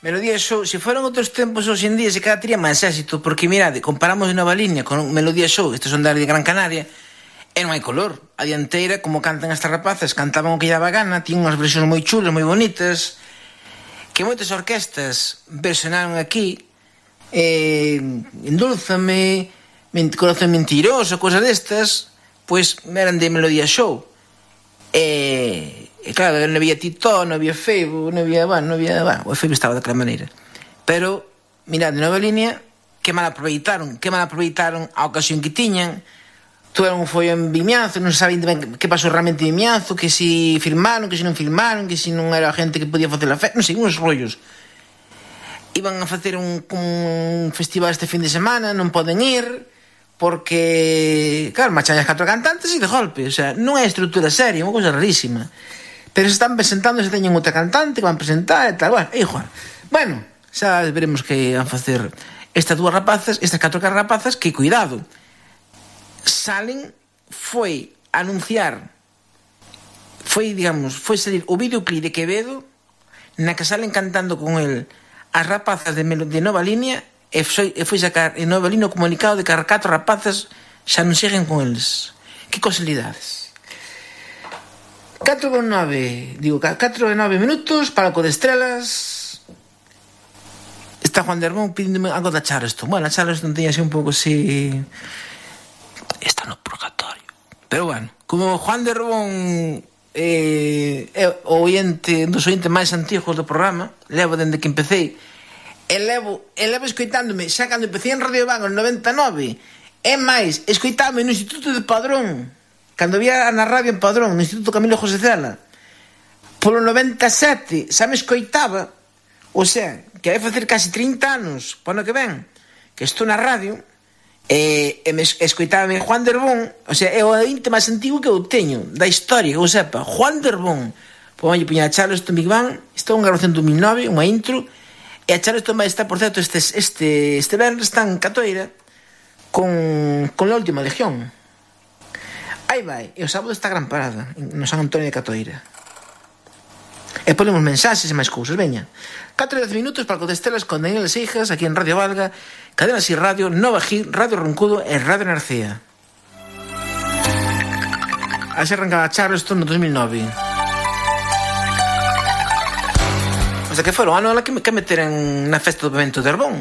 Melodía Show, se foran outros tempos hoxe en día, se cada tería máis éxito, porque mirade, comparamos de Nova Línea con Melodía Show, estes son de Gran Canaria, e non hai color. A dianteira, como cantan estas rapazas, cantaban o que lle daba gana, tiñan unhas versións moi chulas, moi bonitas, que moitas orquestas versionaron aquí, Endúlzame, Corazón Mentiroso, cosas destas, pois eran de Melodía Show. E claro, non había Titó, non había Feibo, non había... o Feibo estaba daquela maneira. Pero, mirad, de Nova Línea, que mal aproveitaron a ocasión que tiñan. Tuveron un follón en Vimianzo, non saben ben que pasou realmente en Vimianzo, que si filmaron, que si non filmaron, que si non era a gente que podía facer a festa, non sei, uns rollos. Iban a facer un festival este fin de semana, non poden ir, porque, claro, marchan as 4 cantantes e de golpe, o sea, non é estrutura seria, é unha cousa rarísima. Pero se están presentando, se teñen outra cantante que van presentar e tal, bueno, é igual. Bueno, xa veremos que van facer estas 4 rapazas, que cuidado, salen, foi anunciar, foi salir o videoclip de Quevedo, na que salen cantando con el as rapazas de Nova Línea, e foi sacar en Nova Línea o comunicado de que as 4 rapazas xa non siguen con eles. Que casualidades. 4:09 minutos, palco de estrelas. Está Juan de Arbón pidíndome algo da Charleston. Bueno, a Charleston tenía así un pouco así... Está no purgatorio. Pero bueno, como Juan de Arbón é o dos ointes máis antigos do programa, levo dende que empecé, e levo escoitándome xa cando empecé en Radio Van en 99, e máis, escoitándome no Instituto de Padrón, cando había na radio en Padrón, no Instituto Camilo José Cela, polo 97, xa me escoitaba, o sea, que vai facer casi 30 anos, para ano que ven, que estou na radio, e me escoitaba Juan de Arbón, o sea, é o ointe máis antigo que eu teño, da historia, que eu sepa, Juan de Arbón. Pois vai poñer a Charleston Big Bang, isto é unha grabación de 2009, unha intro, e a Charleston vai estar, por certo, este venres está en Catoira, con la Última Legión. Aí vai, e o sábado está Gran Parada no San Antonio de Catoira. E ponemos mensaxes e máis cousas, veña. 4:10 minutos para Codestelas con Daniel Seijas, aquí en Radio Valga, Cadena Si Radio, Nova Hit, Radio Roncudo e Radio Narcea. Así arrancaba Charleston no 2009. O sea que foron ano que meteran na festa do Pemento de Arbón.